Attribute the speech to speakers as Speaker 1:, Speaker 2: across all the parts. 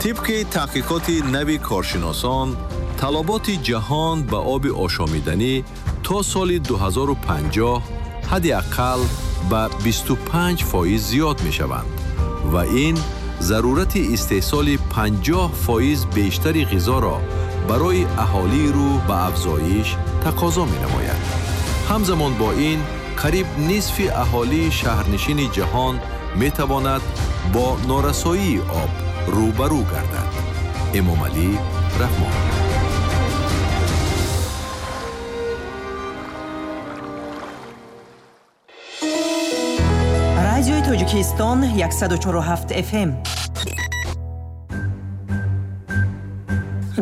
Speaker 1: Тибқи таҳқиқоти нави коршиносон, талаботи ҷаҳон ба оби ошомиданӣ то соли 2050 ҳадди ақал ба 25% зиёд мешаванд ва ин зарурати истеҳсоли 50% бештари ғизоро барои аҳолии рӯ ба афзоиш тақозо менамояд. Ҳамзамон бо ин, қариб нисфи аҳолии шаҳрнишини ҷаҳон метавонад бо норасоии об рӯбарӯ гардад. Эмомалӣ Раҳмон.
Speaker 2: Радиои Тоҷикистон 104,7 FM.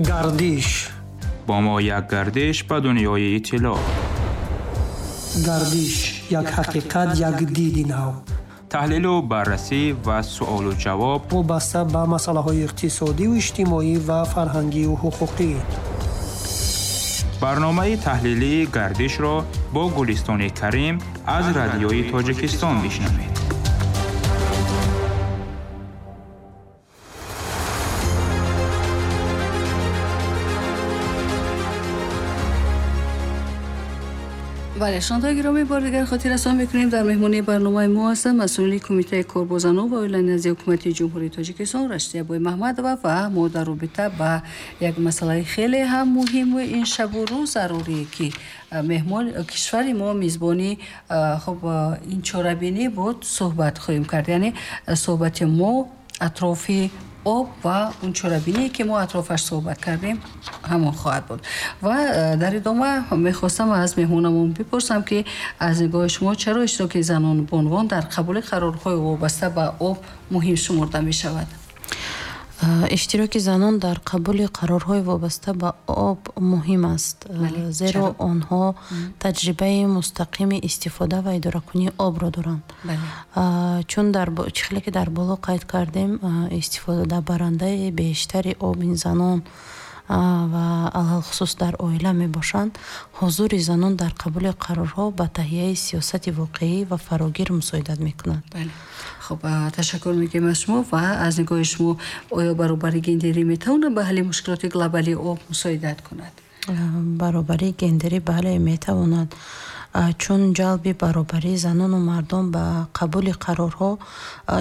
Speaker 3: Гардиш.
Speaker 4: Бо мо як гардиш ба дунёи иттилоъ.
Speaker 3: Гардиш як ҳақиқат, як диди нав.
Speaker 4: Таҳлилу баррасӣ ва суолу ҷавоб
Speaker 3: вобаста ба масъалаҳои иқтисодиву иҷтимоӣ ва фарҳангию ҳуқуқӣ.
Speaker 4: Барномаи таҳлилии гардишро бо Гулистони Карим аз Радиои Тоҷикистон бишнавед.
Speaker 5: Бале, шунавандагони гиромӣ, бори дигар хотиррасон мекунем, дар меҳмонии барномаи мо ҳастанд масъулини Кумитаи кор бо занон ва оила назди Ҳукумати Ҷумҳурии Тоҷикистон Рашидия Боймаҳмадова ва мо дар робита ба як масъалаи хеле ҳам муҳиму ин шабу рӯз зарурӣ, ки меҳмон кишвари мо мизбони хуб ин чорабинӣ буд, суҳбат хоҳем кард. Яъне суҳбати мо атрофи об ва он чорабиние, ки мо атрофаш суҳбат кардем, ҳамон хоҳад буд. Ва дар идома мехостам аз меҳмонамон бипурсам, ки аз нигоҳи шумо чаро иштироки занон бонувон дар қабули қарорҳои вобаста ба об муҳим шумурда мешавад?
Speaker 6: Иштироки занон дар қабули қарорҳои вобаста ба об муҳим аст, зеро онҳо таҷрибаи мустақими истифода ва идоракунии обро доранд. Чун чӣ хеле ки дар боло қайд кардем, истифодабарандаи бештари об ин занон ва алалхусус дар оила мебошанд. Ҳузури занон дар қабули қарорҳо ба таҳияи сиёсати воқеӣ ва фарогир мусоидат мекунад.
Speaker 5: Хуб, ташаккур мегӯем аз шумо. Ва аз нигоҳи шумо оё баробарии гендерӣ метавонад ба ҳалли мушкилоти глобалии об мусоидат кунад?
Speaker 6: Баробарии гендерӣ бале метавонад, чун ҷалби баробарии занону мардон ба қабули қарорҳо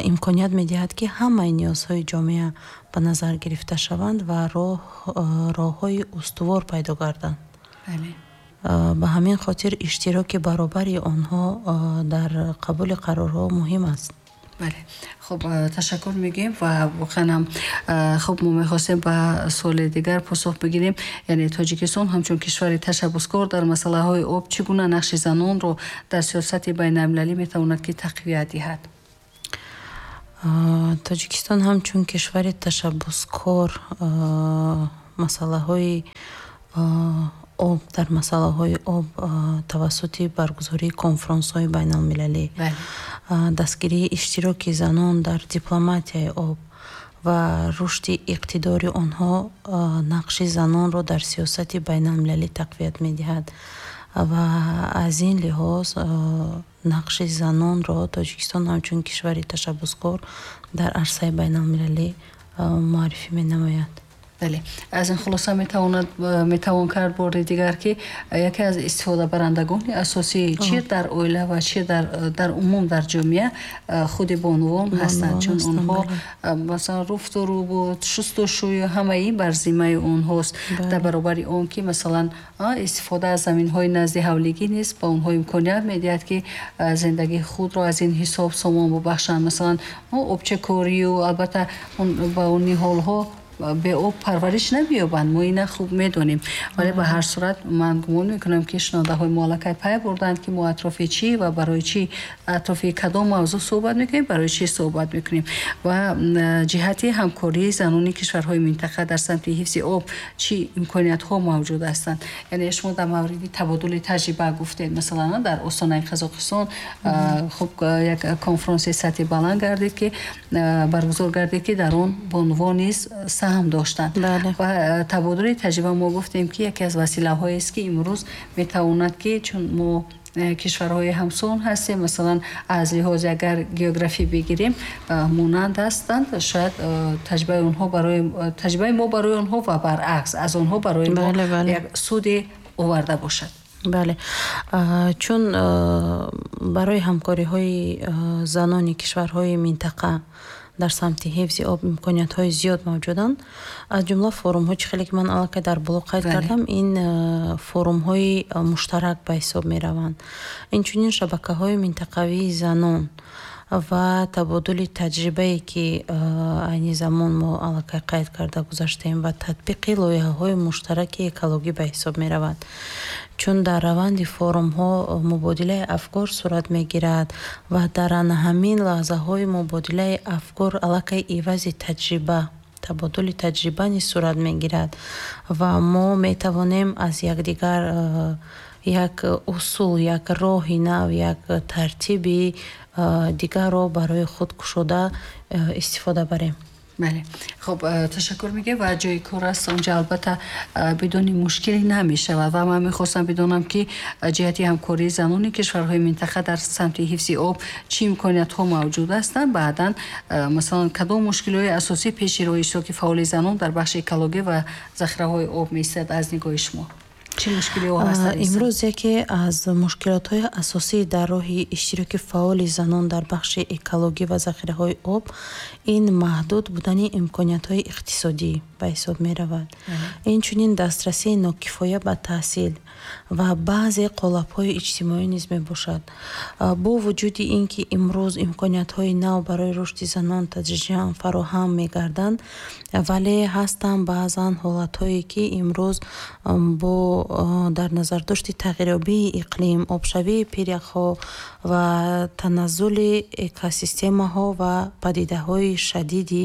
Speaker 6: имконият медиҳад, ки ҳамаи ниёзҳои ҷомеа ба назар гирифта шаванд ва роҳҳои устувор пайдо гарданд. Ба ҳамин хотир иштироки баробари онҳо дар қабули қарорҳо муҳим аст.
Speaker 5: Бале, хуб, ташаккур мегӯем ва воқеан ҳам хуб мо мехостем ба суоли дигар посух бигирем. Яъне Тоҷикистон ҳамчун кишвари ташаббускор дар масъалаҳои об чӣ гуна нақши занонро дар сиёсати байналмилалӣ метавонад ки тақвият диҳад?
Speaker 6: Тоҷикистон ҳамчун кишвари ташаббускор масъалаҳои об дар масъалаҳои об тавассути баргузории конфронсҳои байналмилалӣ, дастгирии иштироки занон дар дипломатияи об ва рушди иқтидори онҳо нақши занонро дар сиёсати байналмилалӣ тақвият медиҳад ва аз ин лиҳоз нақши занонро Тоҷикистон ҳамчун кишвари ташаббускор дар арсаи байналмилалӣ муаррифӣ менамояд.
Speaker 5: Бале, аз ин хулоса метавон кард бори дигар, ки яке аз истифодабарандагони асосии чӣ дар оила ва чӣ дар умум дар ҷомеа худи бонувон ҳастанд, чун онҳо масалан руфту рубу, шустушӯю ҳамаи ин бар зиммаи онҳост. Дар баробари он ки масалан истифода аз заминҳои назди ҳавлигӣ низ ба онҳо имконият медиҳад, ки зиндагии худро аз ин ҳисоб сомон бубахшанд. Масалан обчакорию албатта ба он ниҳолҳо бе об парвариш намеёбанд, мо ина хуб медонем. Вале ба ҳар сурат ман гумон мекунам, ки шунавандаҳои мо аллакай пай бурданд, ки мо атрофи чӣ ва барои чӣ, атрофи кадом мавзӯъ суҳбат мекунем, барои чӣ суҳбат мекунем ва ҷиҳати ҳамкории занони кишварҳои минтақа дар самти ҳифзи об чӣ имкониятҳо мавҷуд ҳастанд. Яъне шумо дар мавриди табодули таҷриба гуфтед, масалан дар Остонаи Қазоқистон хуб як конфронси сатҳи баланд гардид, ки баргузор гардид, ки дар он бонувон низ саҳм доштанд. Ва табодули таҷриба мо гуфтем, ки яке аз василаҳоест, ки имрӯз метавонад, ки чун мо Кишварҳои ҳамсон ҳастем, масалан, аз лиҳози агар географӣ бигирем, монанд ҳастанд. Шояд таҷрибаи онҳо барои таҷрибаи мо барои онҳо ва баръакс аз онҳо барои мо як суде оварда бошад.
Speaker 6: Бале, чун барои ҳамкориҳои занони кишварҳои минтақа дар самти ҳифзи об имкониятҳои зиёд мавҷуданд, аз ҷумла форумҳо, чӣ хеле ки ман аллакай дар боло қайд кардам, ин форумҳои муштарак ба ҳисоб мераванд. Инчунин шабакаҳои минтақавии занон ва табодули таҷрибае, ки айни замон мо аллакай қайд карда гузаштем, ва татбиқи лоиҳаҳои муштараки экологӣ ба ҳисоб меравад. Чун дар раванди форумҳо мубодилаи афкор сурат мегирад ва дар ана ҳамин лаҳзаҳои мубодилаи афкор аллакай ивази таҷриба, табодули таҷриба низ сурат мегирад ва мо метавонем аз якдигар як усул, як роҳи нав, як тартиби дигарро барои худ кушода истифода барем.
Speaker 5: Бале, хуб, ташаккур мегӯем ва ҷои кор аст онҷа, албатта, бидуни мушкиле намешавад. Ва ман мехостам бидонам, ки ҷиҳати ҳамкории занони кишварҳои минтақа дар самти ҳифзи об чӣ имкониятҳо мавҷуд ҳастанд, баъдан, масалан, кадом мушкилиҳои асосӣ пеши роҳи иштироки фаъоли занон дар бахши экологӣ ва захираҳои об меистад. Аз нигоҳи шумо чӣ мушкилиҳо ҳастанд?
Speaker 6: Имрӯз яке аз мушкилотҳои асосӣ дар роҳи иштироки фаъоли занон дар бахши экологӣ ва захираҳои об ин маҳдуд будани имкониятҳои иқтисодӣ ба ҳисоб меравад. Инчунин дастрасии нокифоя ба таҳсил ва баъзе қолабҳои иҷтимоӣ низ мебошад. Бо вуҷуди ин ки имрӯз имкониятҳои нав барои рушди занон тадриҷан фароҳам мегарданд, вале ҳастанд баъзан ҳолатҳое, ки имрӯз бо дар назардошти тағйирёбии иқлим, обшавии пиряхҳо ва таназзули экосистемаҳо ва падидаҳои шадиди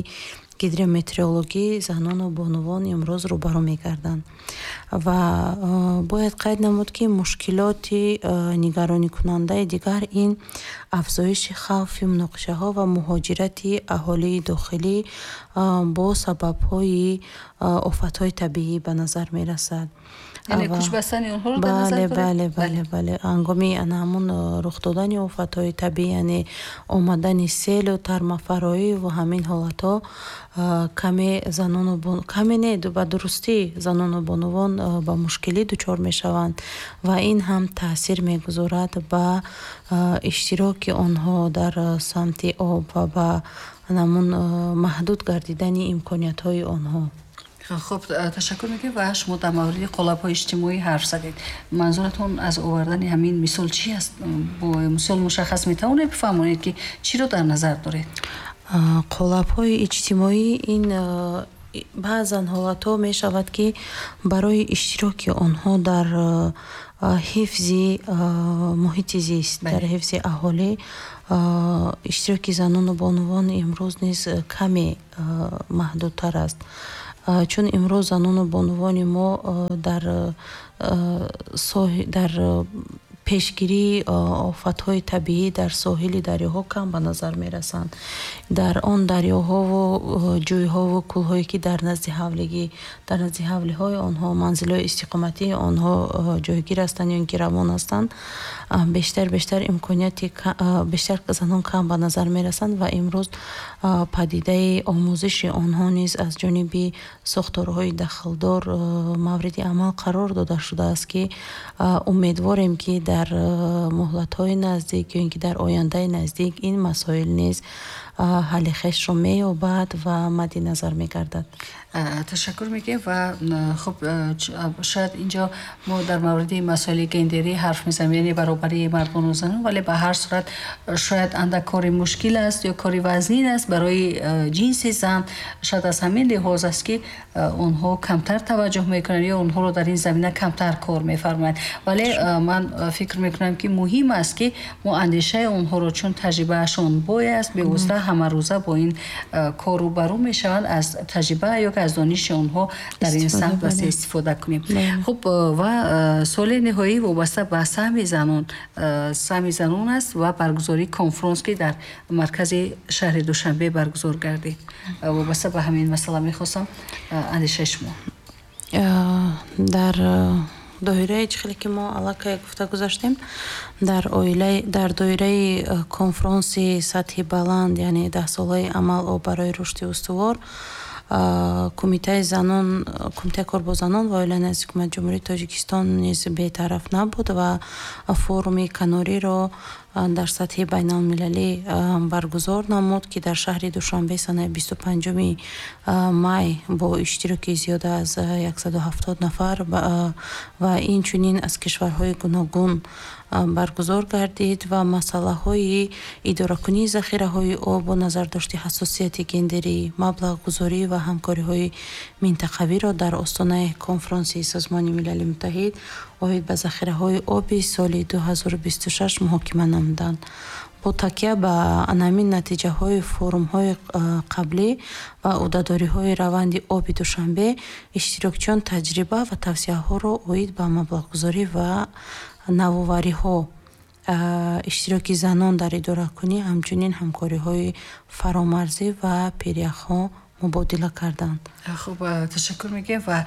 Speaker 6: гидрометеорологӣ занону бонувон имрӯз рӯбарӯ мегарданд. Ва бояд қайд намуд, ки мушкилоти нигароникунандаи дигар ин афзоиши хавфи муноқишаҳо ва муҳоҷирати аҳолии дохилӣ бо сабабҳои офатҳои табиӣ ба назар мерасад.
Speaker 5: Яъне кӯчбастани онҳоро дар назар
Speaker 6: Бале.
Speaker 5: доред?
Speaker 6: Бале, ҳангоми ана ҳамун рух додани офатҳои табиӣ, яъне омадани селу тармафароӣ ва ҳамин ҳолатҳо, каме занону каме не, ба дурустӣ занону бонувон ба мушкилӣ дучор мешаванд ва ин ҳам таъсир мегузорад ба иштироки онҳо дар самти об ва ба ҳамун маҳдуд гардидани имкониятҳои онҳо.
Speaker 5: Хуб, ташаккур мекунем. Ва шумо дар мавриди қолабҳои иҷтимоӣ ҳарф задед. Манзуратон аз овардани ҳамин мисол чӣ аст? Бо мисол мушаххас метавонед бифаҳмонед, ки чиро дар назар доред?
Speaker 6: Қолабҳои иҷтимоӣ ин баъзан ҳолатҳо мешавад, ки барои иштироки онҳо дар ҳифзи муҳити зист, дар ҳифзи аҳолӣ иштироки занону бонувон имрӯз низ каме маҳдудтар аст, чун имрӯз занону бонувони мо дар пешгирии офатҳои табиӣ дар соҳили дарёҳо кам ба назар мерасанд. Дар он дарёҳову ҷӯйҳову кӯлҳое, ки дар назди ҳавлиҳои онҳо, манзилҳои истиқоматии онҳо ҷойгир ҳастанд ё ин ки равон ҳастанд, бештар имконияти, бештар занон кам ба назар мерасанд. Ва имрӯз падидаи омӯзиши онҳо низ аз ҷониби сохторҳои дахлдор мавриди амал қарор дода шудааст, ки умедворем, ки дар муҳлатҳои наздик ё ин ки дар ояндаи наздик ин масоил низ ҳалли хешро меёбад ва мадди назар мегардад.
Speaker 5: Ташаккур мегӯем. Ва хуб, шояд инҷо мо дар мавриди масоили гендерӣ ҳарф мезанем, яъне баробарии мардону занон, вале ба ҳар сурат шояд андак кори мушкил аст ё кори вазнин аст барои ҷинси зан. Шояд аз ҳамин лиҳоз аст, ки онҳо камтар таваҷҷӯҳ мекунанд ё онҳоро дар ин замина камтар кор мефармоянд. Вале ман фикр мекунам, ки муҳим аст, ки мо андешаи онҳоро, чун таҷрибаашон бой аст, бевосита ҳамарӯза бо ин кор рӯбарӯ мешаванд, аз таҷриба ё ки аз дониши онҳо дар ин самт васеъ истифода кунем. Хуб, ва суоли ниҳоӣ вобаста ба саҳми занон аст ва баргузории конфронс, ки дар маркази шаҳри Душанбе баргузор гардид. Вобаста ба ҳамин масъала мехостам андешаи шумо.
Speaker 6: Дар Доираи чӣ хеле ки мо аллакай гуфта гузаштем, дар оилаи, дар доираи конфронси сатҳи баланд, яъне даҳсолаи амал об барои рушди устувор, Кумитаи занон, Кумитаи кор бо занон ва оила назди Ҳукумати Ҷумҳурии Тоҷикистон низ бетараф набуд ва форуми канориро дар сатҳи байналмилалӣ баргузор намуд, ки дар шаҳри Душанбе санаи 25 май бо иштироки зиёда аз 170 нафар ва инчунин аз кишварҳои гуногун баргузор гардид ва масъалаҳои идоракунии захираҳои об бо назардошти ҳассосияти гендерӣ, маблағгузорӣ ва ҳамкориҳои минтақавиро дар остонаи конфронси Созмони Милали Муттаҳид оид ба захираҳои оби соли 2026 муҳокима намуданд. Бо такя ба анамин натиҷаҳои форумҳои қаблӣ ва ӯҳдадориҳои раванди оби Душанбе, иштирокчиён таҷриба ва тавсияҳоро оид ба маблағгузорӣ ва навовариҳо, иштироки занон дар идоракунӣ, ҳамчунин ҳамкориҳои фаромарзӣ ва пиряхҳо мубодила карданд.
Speaker 5: Хуб, ташаккур мегӯем ва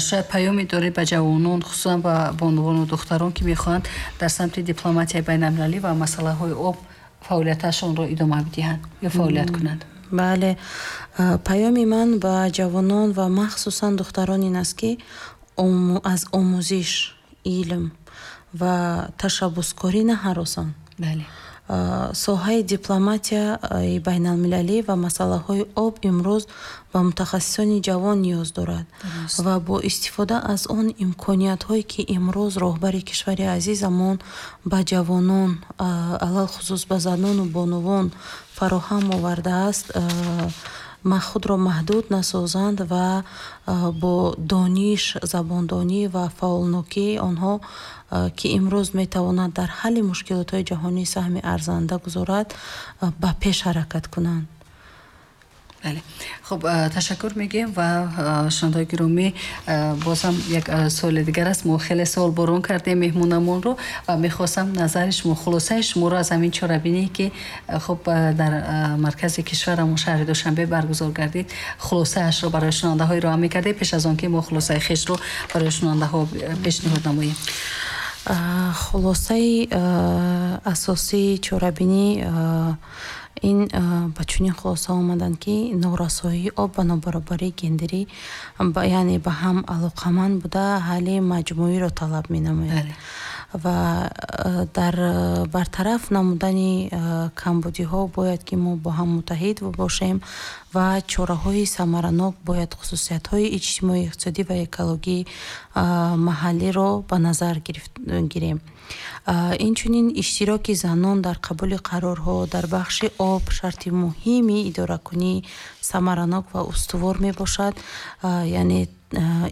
Speaker 5: шояд паёме доред ба ҷавонон, хусусан ба бонувону духтарон, ки мехоҳанд дар самти дипломатияи байналмилалӣ ва масъалаҳои об фаъолияташонро идома бидиҳанд ё фаъолият кунанд.
Speaker 6: Бале, паёми ман ба ҷавонон ва махсусан духтарон ин аст, ки аз омӯзиш, илм ва ташаббускорӣ наҳаросанд. Соҳаи дипломатияи байналмилалӣ ва масъалаҳои об имрӯз ба мутахассисони ҷавон ниёз дорад ва бо истифода аз он имкониятҳое, ки имрӯз роҳбари кишвари азизамон ба ҷавонон, алалхусус ба занону бонувон фароҳам овардааст, худро маҳдуд насозанд ва бо дониш, забондонӣ ва фаъолнокии онҳо, ки имрӯз метавонад дар ҳалли мушкилотҳои ҷаҳонӣ саҳми арзанда гузорад, ба пеш ҳаракат кунанд.
Speaker 5: Бале, хуб, ташаккур мегӯем ва шунавандаҳои гиромӣ, боз ҳам як суоли дигар аст. Мо хеле суол борон кардем меҳмонамонро ва мехостам назари шумо, хулосаи шуморо аз ҳамин чорабиние, ки хуб дар маркази кишварамон, шаҳри Душанбе баргузор гардид, хулосаашро барои шунавандаҳо ироа мекардем, пеш аз он ки мо хулосаи хешро барои шунавандаҳо пешниҳод намоем.
Speaker 6: Хулосаи асосии чорабинӣ ин ба чунин хулоса омаданд, ки норасоии об ва нобаробарии гендерӣ, яъне ба ҳам алоқаманд буда, ҳалли маҷмӯиро талаб менамояд ва дар бартараф намудани камбудиҳо бояд ки мо бо ҳам муттаҳид бошем ва чораҳои самаранок бояд хусусиятҳои иҷтимоӣ, иқтисодӣ ва экологии маҳаллиро ба назар гирем. Инчунин иштироки занон дар қабули қарорҳо дар бахши об шарти муҳими идоракунии самаранок ва устувор мебошад, яъне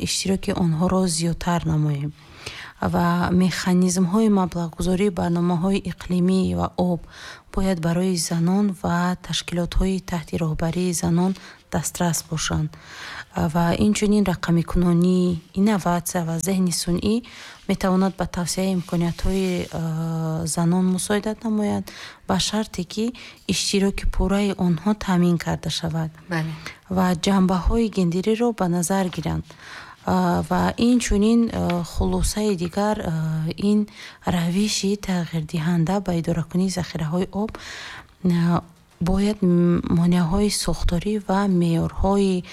Speaker 6: иштироки онҳоро зиёдтар намоем ва механизмҳои маблағгузории барномаҳои иқлимӣ ва об бояд барои занон ва ташкилотҳои таҳти роҳбарии занон дастрас бошанд ва инчунин рақамикунонӣ, инноватсия ва зеҳни сунъӣ метавонад ба тавсеаи имкониятҳои занон мусоидат намояд, ба шарте ки иштироки пурраи онҳо таъмин карда шавад ва ҷанбаҳои гендериро ба назар гиранд. Ва инчунин хулосаи дигар ин равиши тағйирдиҳанда ба идоракунии захираҳои об бояд монеаҳои сохторӣ ва меъёрҳои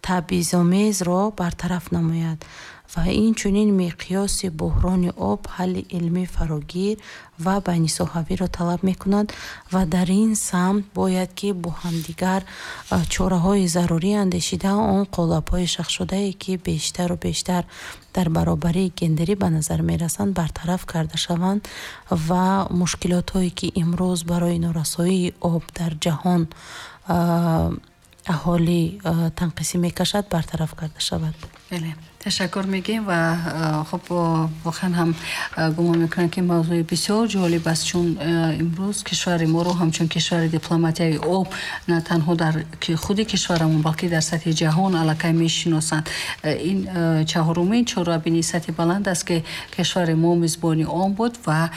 Speaker 6: табъизомезро бартараф намояд ва инчунин миқёси буҳрони об ҳалли илмӣ, фарогир ва байнисоҳавиро талаб мекунад ва дар ин самт бояд ки бо ҳамдигар чораҳои зарурӣ андешида, он қолабҳои шахшудае, ки бештару бештар дар баробарии гендерӣ ба назар мерасанд, бартараф карда шаванд ва мушкилотҳое, ки имрӯз барои норасоии об дар ҷаҳон аҳолӣ танқисӣ мекашад, бартараф карда шавад.
Speaker 5: Бале, ташаккур мегӯем ва хуб, воқеан ҳам гумон мекунам, ки мавзӯи бисёр ҷолиб аст, чун имрӯз кишвари моро ҳамчун кишвари дипломатияи об на танҳо дар худи кишварамон, балки дар сатҳи ҷаҳон аллакай мешиносанд. Ин чаҳорумин чорабинии сатҳи баланд аст, ки кишвари мо мизбони он буд. Ва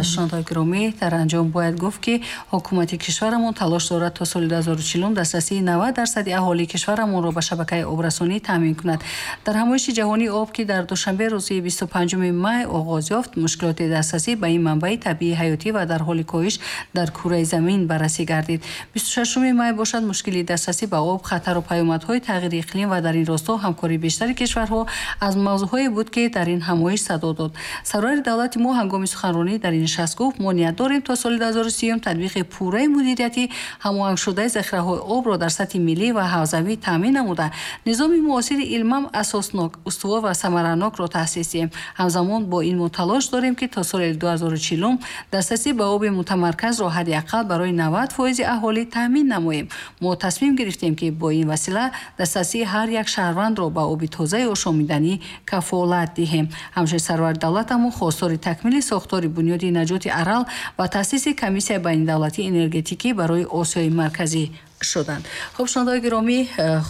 Speaker 5: шунавандаҳои гиромӣ, дар анҷом бояд гуфт, ки ҳукумати кишварамон талош дорад то соли 2040 дастрасии 90 дарсади аҳолии кишварамонро ба шабакаи обрасонӣ таъмин кунад. Дар ҳамоиши ҷаҳонии об, ки дар Душанбе рӯзи 25 май оғоз ёфт, мушкилоти дастрасӣ ба ин манбаи табиии ҳаётӣ ва дар ҳоли коҳиш дар кураи замин баррасӣ гардид. 26 май бошад, мушкили дастрасӣ ба об, хатару паёмадҳои тағйири иқлим ва дар ин росто ҳамкории бештари кишварҳо аз мавзӯъҳое буд, ки дар ин ҳамоиш садо дод. Сарвари давлати мо ҳангоми суханронӣ дар ин нишаст гуфт: мо ният дорем то соли 2030 татбиқи пурраи мудирияти ҳамоҳангшудаи захираҳои обро дар сатҳи миллӣ ва ҳавзавӣ таъмин намуда, низоми муосири илмам асоснок, устувор ва самаранокро таъсис диҳем. Ҳамзамон бо ин мо талош дорем, ки то соли 2040 дастрасӣ ба оби мутамарказро ҳадди ақал барои 90% аҳолӣ таъмин намоем. Мо тасмим гирифтем, ки бо ин васила дастрасии ҳар як шаҳрвандро ба оби тозаи ошомиданӣ кафолат диҳем. Ҳамчунин сарвари давлатамон хостори такмили сохтори бунёди наҷоти Арал ва таъсиси комиссияи байнидавлатии энергетикӣ барои Осиёи Марказӣ шуданд. Хуб, шунавандаҳои гиромӣ,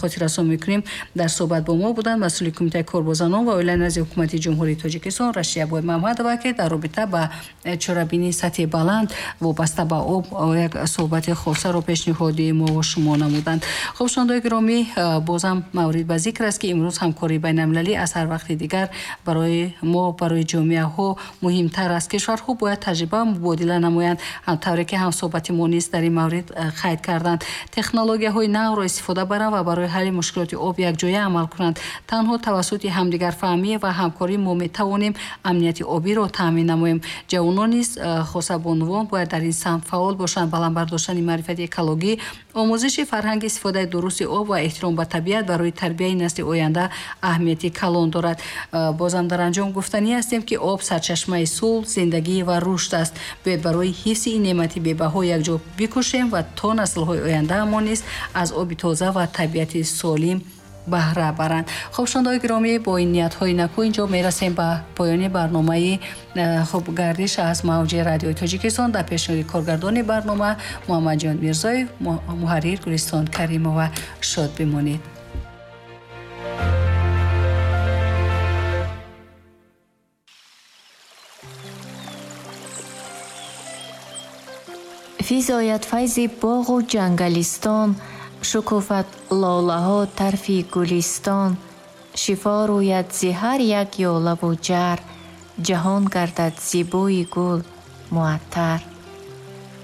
Speaker 5: хотиррасон мекунем, дар суҳбат бо мо буданд масъули Кумитаи кор бо занон ва оила назди Ҳукумати Ҷумҳурии Тоҷикистон Рашия Мамадова, ки дар робита ба чорабинии сатҳи баланд вобаста ба об як суҳбати хосаро пешниҳоди мо ва шумо намуданд. Хуб, шунавандаҳои гиромӣ, бозам маврид ба зикр аст, ки имрӯз ҳамкории байналмилалӣ аз ҳар вақти дигар барои мо, барои ҷомеаҳо муҳимтар аст. Кишварҳо бояд таҷриба мубодила намоянд, тавре ки ҳамсуҳбати мо низ дар ин маврид қайд карданд. Технологияҳои навро истифода баранд ва барои ҳалли мушкилоти об якҷоя амал кунанд. Танҳо тавассути ҳамдигарфаҳмӣ ва ҳамкорӣ мо метавонем амнияти обиро таъмин намоем. Ҷавонон низ, хоса бонувон, бояд дар ин самт фаъол бошанд. Баланд бардоштани маърифати экологӣ, омӯзиши фарҳанги истифодаи дурусти об ва эҳтиром ба табиат барои тарбияи насли оянда аҳамияти калон дорад. Бозам дар анҷом гуфтанӣ ҳастем, ки об сарчашмаи сулҳ, зиндагӣ ва рушд аст. Бояд барои ҳифзи ин неъмати бебаҳо якҷо бикӯшем ва то наслҳои оянда мо низ аз оби тоза ва табиати солим баҳра баранд. Хуб, шунавандаҳои гиромӣ, бо ин ниятҳои накӯ инҷо мерасем ба поёни барномаи хуб гардиш аз мавҷи радиои Тоҷикистон. Дар пешниҳоди коргардони барнома Муҳаммадҷон Мирзоев, муҳаррир Гулистон Каримова. Шод бимонед.
Speaker 7: Физояд файзи боғу ҷангалистон, шукуфад лолаҳо тарфи гулистон, шифо рӯяд зи ҳар як ёлаву ҷар, ҷаҳон гардад зи бӯи гул муаттар.